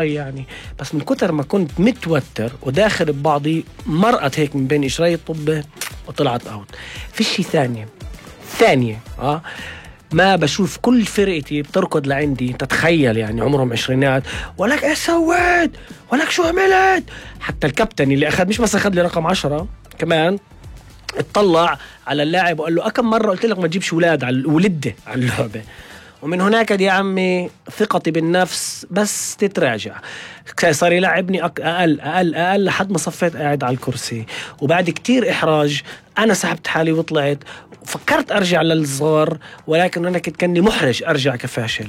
يعني. بس من كتر ما كنت متوتر وداخل ببعضي مرقت هيك من بين إشراي الطبة وطلعت أوت. في شي ثانية ما بشوف كل فرقتي بتركض لعندي، تتخيل يعني عمرهم عشرينات، ولك ايش سويت، ولك شو عملت. حتى الكابتن اللي أخذ مش بس أخذ لي رقم 10 كمان اطلع على اللاعب وقال له أكم مرة قلت لك ما تجيبش ولاد على ولده على اللعبة. ومن هناك يا عمي ثقتي بالنفس بس تتراجع، صار يلعبني أقل لحد ما صفيت قاعد على الكرسي. وبعد كتير إحراج أنا سحبت حالي وطلعت، وفكرت أرجع للصغار ولكن أنا كني محرج أرجع كفاشل،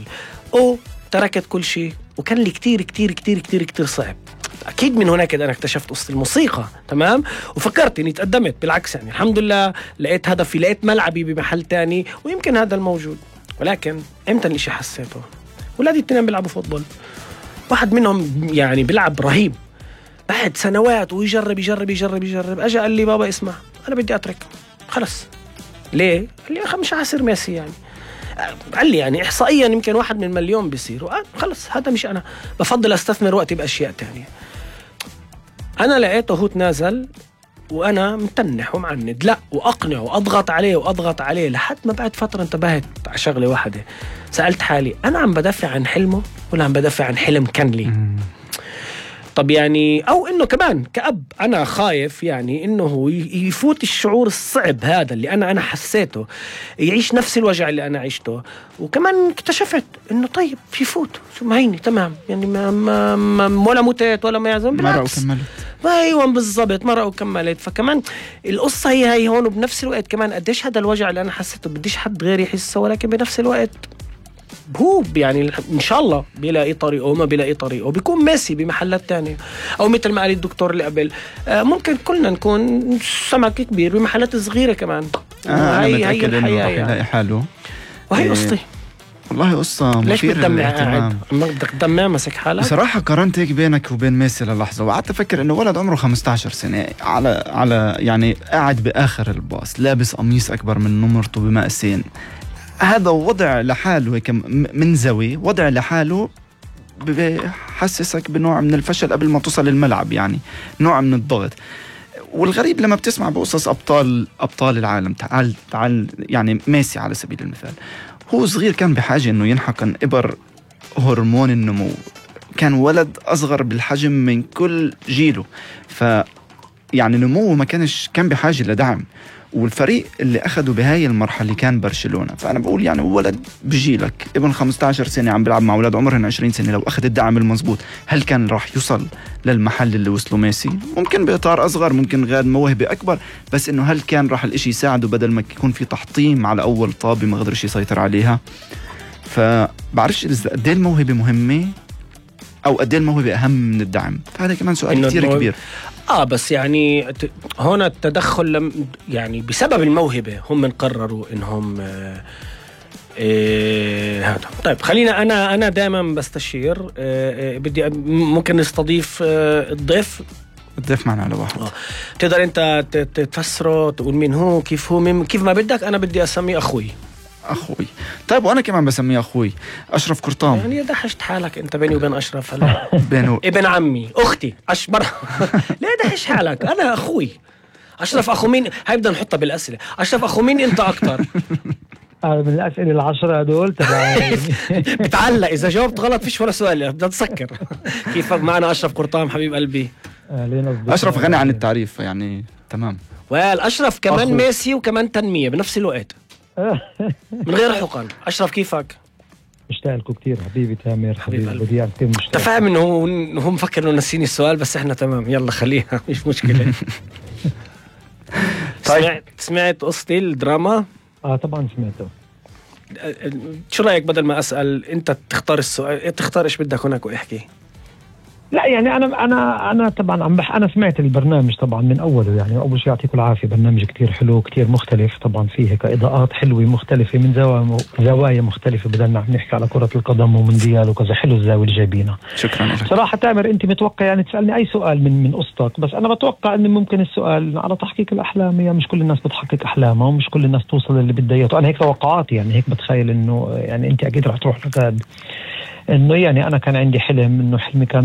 تركت كل شيء. وكان لي كتير كتير كتير كتير كتير صعب. أكيد من هناك أنا اكتشفت قصة الموسيقى، تمام، وفكرت إني تقدمت. بالعكس يعني الحمد لله لقيت هدفي، لقيت ملعبي بمحل تاني، ويمكن هذا الموجود. ولكن امتى الاشي حسيته؟ ولادي التنين بيلعبوا فوتبول، واحد منهم يعني بيلعب رهيب بعد سنوات ويجرب يجرب يجرب يجرب. اجى قال لي بابا اسمع انا بدي اترك خلص. ليه؟ قال لي مش عاصر ميسي يعني. قال لي يعني احصائيا يمكن 1 من مليون بيصير، خلص هذا مش انا، بفضل استثمر وقتي باشياء تانية. انا لقيته هو تنازل وأنا متنح ومعند، لا وأقنع وأضغط عليه لحد ما بعد فترة انتبهت على شغلة واحدة. سألت حالي أنا عم بدافع عن حلمه ولا عم بدافع عن حلم كان لي؟ طب يعني أو إنه كمان كأب أنا خايف يعني إنه هو يفوت الشعور الصعب هذا اللي أنا حسيته، يعيش نفس الوجع اللي أنا عشته. وكمان اكتشفت إنه طيب يفوت شو معيني تمام يعني ما ولا متت ولا ما يعزم، بالعكس ايوه بالضبط مرة وكملت. فكمان القصة هي هون. وبنفس الوقت كمان قديش هذا الوجع اللي أنا حسيته بديش حد غير يحسه، ولكن بنفس الوقت هو يعني إن شاء الله بيلاقي طريقه، ما بيلاقي طريقه بيكون ماشي بمحلات تانية. أو مثل ما قال الدكتور اللي قبل ممكن كلنا نكون سمك كبير بمحلات صغيرة كمان. أنا متأكد إنه راح يلاقي حاله. وهي قصتي والله قصة مثيرة للاهتمام. بدك تدمع مسك حالك بصراحة. قارنت هيك بينك وبين ميسي للحظة وقعدت أفكر إنه ولد عمره 15 سنة على يعني قاعد بآخر الباص لابس قميص أكبر من نمرته بمقاسين. هذا وضع لحاله هيك منزوي، وضع لحاله بحسسك بنوع من الفشل قبل ما توصل للملعب، يعني نوع من الضغط. والغريب لما بتسمع بقصص أبطال العالم، تعال يعني ميسي على سبيل المثال، هو صغير كان بحاجة إنه ينحقن إبر هرمون النمو، كان ولد أصغر بالحجم من كل جيله، يعني نموه ما كان بحاجة لدعم. والفريق اللي أخده بهاي المرحلة كان برشلونة. فأنا بقول يعني ولد بجيلك ابن 15 سنة عم بيلعب مع ولاد عمرهن 20 سنة، لو أخذ الدعم المزبوط هل كان راح يوصل للمحل اللي وصله ميسي؟ ممكن بإطار أصغر، ممكن غير موهبة أكبر، بس إنه هل كان راح الإشي يساعده بدل ما يكون في تحطيم على أول طابة ما قدرش يسيطر عليها؟ فبعرفش إذا قد ايه الموهبة مهمة أو قد ايه الموهبة أهم من الدعم. فهذا كمان سؤال كتير كبير. بس يعني هنا التدخل يعني بسبب الموهبة هم من قرروا إنهم هذا. طيب خلينا أنا دائما بستشير. بدي ممكن نستضيف الضيف معنا على واحد. تقدر أنت تفسره، تقول مين هو، كيف هو، كيف ما بدك. أنا بدي أسميه أخوي. طيب وأنا كمان بسميه أخوي أشرف قرطام. يعني دحشت حالك أنت بيني وبين أشرف هلا بينه ابن عمي أختي أشبر ليه دحش حالك؟ أنا أخوي أشرف. أخو مين؟ هاي بدنا نحطها بالأسئلة. أشرف أخو مين أنت أكتر؟ من الأسئلة 10 هدول بتعلق إذا جاوبت غلط فيش ولا سؤال، بدنا نسكر. كيف معنا أشرف قرطام حبيب قلبي؟ أشرف غني عن التعريف يعني تمام. أشرف كمان أخو. ميسي وكمان تنمية بنفس الوقت من غير حقن. أشرف كيفك؟ مشتاق لكم كتير حبيبي تامر، حبيبي بديع كتير مشتاق. تفهم إنه هو مفكر إنه نسيني السؤال، بس إحنا تمام يلا خليها مش مشكلة. طيب سمعت قصتي الدراما؟ طبعا سمعته. شو رأيك بدل ما أسأل أنت تختار السؤال، تختار إيش بدك هناك وإحكي؟ لا يعني أنا طبعا أنا سمعت البرنامج طبعا من أوله. يعني أول شيء يعطيكم العافية، برنامج كتير حلو كتير مختلف طبعا، فيه كإضاءات حلوة مختلفة من زوايا مختلفة. بدلنا نحكي على كرة القدم ومونديال وكذا، حلو الزاوية اللي جايبينها. شكرا لك. صراحة تامر أنت متوقع يعني تسألني أي سؤال من قصتك، بس أنا بتوقع أن ممكن السؤال على تحقيق الأحلام. يعني مش كل الناس بتحقق أحلامها ومش كل الناس توصل اللي بدها إياه. أنا هيك توقعاتي، يعني هيك بتخيل إنه يعني أنت أكيد رح تروح لك انه يعني انا كان عندي حلم، انه حلمي كان